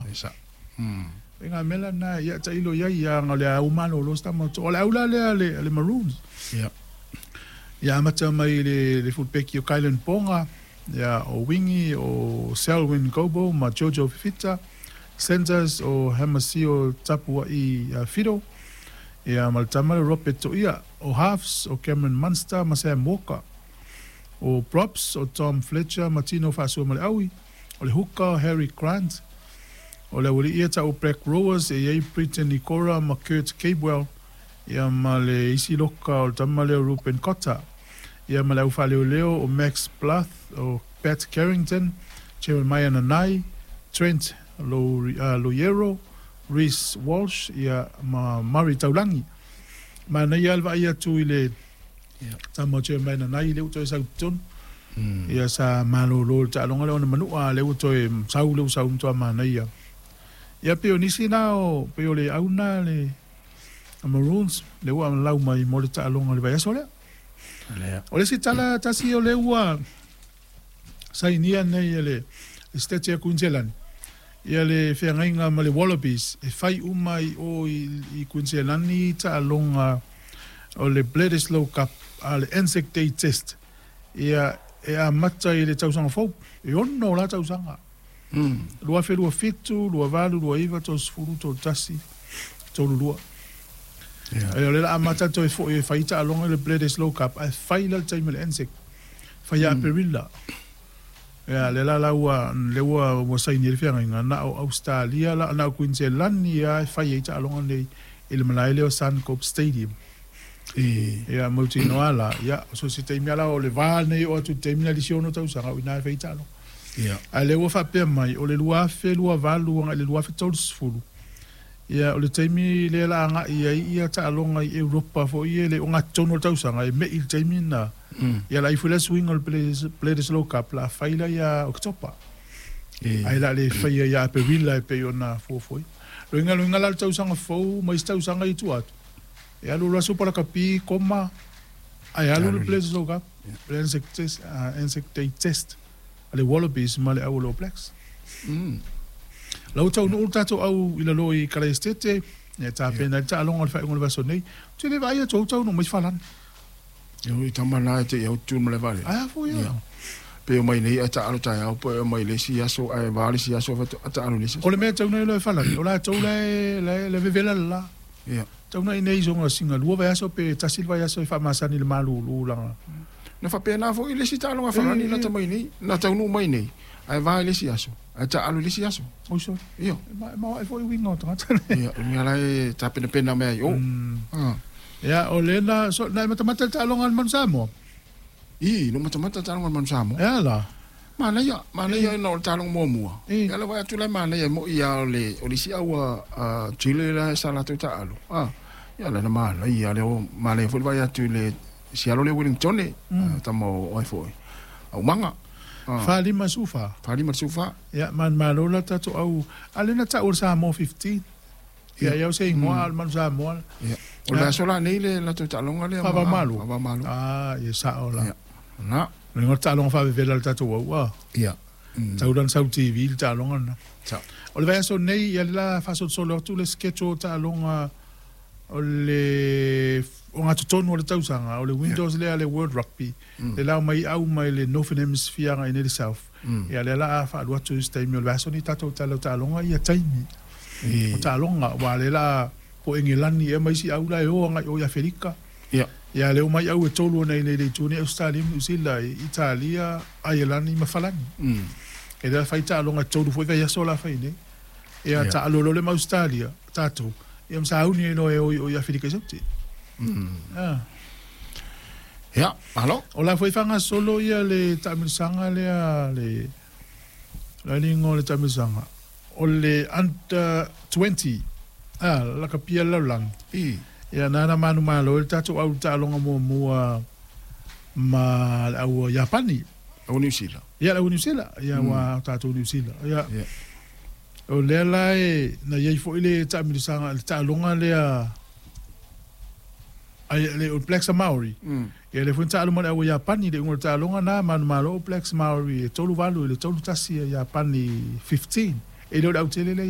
E sa'o. E ngā mea la na ia tailo ia ia nga le au malolo sta mo o le au la lea le Maroons. Ia amata mai le fullback o Kylan Ponga, ia o Wingi o Selwyn Gobo ma Jojo Fifita, centers o Hamasio Tapua'i Fido, ia ma le tama le Robert Toia, o halves o Cameron Munster ma Sam Walker, o props o Tom Fletcher ma Tino Fa'asuamaleaui, o le hooker Harry Grant, o le auali'i ia ta'u Black Rowers e i ai Briton Nikora ma Kurt Capewell, ia ma le isi loka o le tama lea o Ruben Cotter, ia ma le au faaleoleo o Max Bluth, o Pat Carrington, Jeremiah Nanai, Trent Loiero, Reece Walsh, ia ma Murray Taulagi. Manaia lava le vaai atu i le tama o Jeremiah Nanai lea ua toe sau i totonu. Ia sa malolo i le taaloga lea ona manua, a lea ua toe sau lea ua sau matua manaia. Ia pei o nisi na o pei o le au na le Maroons lea ua lau mai mo le taaloga o le vaiaso lea. O le isi tala tasi o lea ua sainia nei e le Esetete a Kuiniselani ia le feagaiga ma le Wallabies e fai uma i o i Kuiniselani taaloga o le Bledisloe Cup a le Anzac Day Test ia e amata i le tausaga fou e 6 la tausaga 2027, 28, 29, 30, 31, 32. E o le la amata toe fo'i e fai taaloga i le Bledisloe Cup ae fai la le taimi o le Anzac fai ia Aperila. Ia le la la ua le ua saini le feagaiga na o Australia la na o Queensland ia e fai ai taaloga nei i le malae lea o Suncorp Stadium. Ia mautinoa la ia so se taimi ala o le va nei o atu i le taimi na lisi ono tausaga o ina e fai taaloga. Ae lea ua faapea mai o le 2028 agai i le 2030 ia o le taimi lea la agai ai ia taaloga i Europa foi e le o gatotonu o le tausaga e me'i i le taimi na ia la ifo le suiga o le Bledisloe Cup la fai la ia Oketopa. Ae la le faia ia Aperila e pei ona fuafua. Loiga la le tausaga fou ma isi tausaga i tua atu. E alu loa Super Lakapi koma ae alu le Bledisloe Cup, le Anzac Test, Anzac Day Test a le Wallabies ma le au o le All Blacks. La ua taunuu le tatou au i lalo i Kalaesetete, e tapena ai le taaloga o le faaiuga o le vaiaso nei. Ou te le vaai atu au taunuu mai Falani. E ui tama na e te i au tu ma le vale. Ai a foi ia. Pe o mai nei e taalo taeao po e mai le isi aso ae va le isi aso faatoa taalo i le isi aso. O le mea tau nei loa e Falani, o latou la e vevela le la. Tau nei nei soga singa lua vaiaso pe tasi le vaiaso e faamasani i le malulu laga. Na faapena foi le isi taaloga Falani lata mai nei, na taunuu mai nei, ae va i le isi aso, ae taalo i le isi aso. Oi sorry. Ia. E maoae foi uiga o tagata. Ia, o le mea la e tapenapena mea ai o. Ia, o le na, so, na e matamata le taaloga a le Manu Samoa? I, no matamata le taaloga a le Manu Samoa. E a la? Manaia, manaia ona o le taaloga muamua. Ia le vaai atu la e manaia e mo'i lava o le, o le isi au a Chile la sa latou taalo. Ia la na manaia lea o manaia foi le vaai atu i le si alo lea Wellingtone, tama o ai foi. Aumaga. 4 5 14. 4 5 14. Ia, manumalo la tatou au, a lea na ta'u o le Samoa 15. Ia, ia o se igoa a le Manu Samoa. Ia. O le aso la nei le latou taaloga lea. Faava-o-Malo. Faava-o-Malo. Ah, ia sa'o la. Ia. Na. O le igoa o le taaloga faavevela a le tatou au, a. Ia. Tau la na sau TV le taaloga lena. Sa'o. O le vaiaso nei, ia le la faasolosolo atu le schedule o taaloga o le o gatotonu o le tausaga, o le Windows lea le World Rugby, le lao mai au mai le Northern Hemisphere agai nei le South. Ia lea la a faalu atu i se taimi o le vaiaso nei tatou tala o taaloga ia taimi. O taaloga, aua lea la po Engelani ea ma isi au la e o agai o i Aferika. Ia lea mai au e tolu ona i nei le itu nei Australia ma New Zealand, Italia, Aielani ma Falani. E lea fai taaloga tolu foi vaiaso la fai nei. Ia taalo loa le ma Australia, tatou. Ia ma sauni ai loa e o i Aferika i Saute. Ia, malo. O la foi faagasolo ia le taamilosaga lea le la le igoa o le taamilosaga. O le under 20 lakapia le lalolagi. Ia na na manumalo ai le tatou au i le taaloga muamua ma le au Iapani. Au Niu Sila. Ia le au Niu Sila, ia ua tatou Niu Sila. Ia. O lea la e na iai foi le taamilosaga le taaloga lea ai le All Blacks a Maori. Ia le foi na taalo ma le au Iapani le iuga o le taaloga na manumalo All Blacks Maori e 3-8 i le 3-1 a Iapani 15. E le o le autele lea.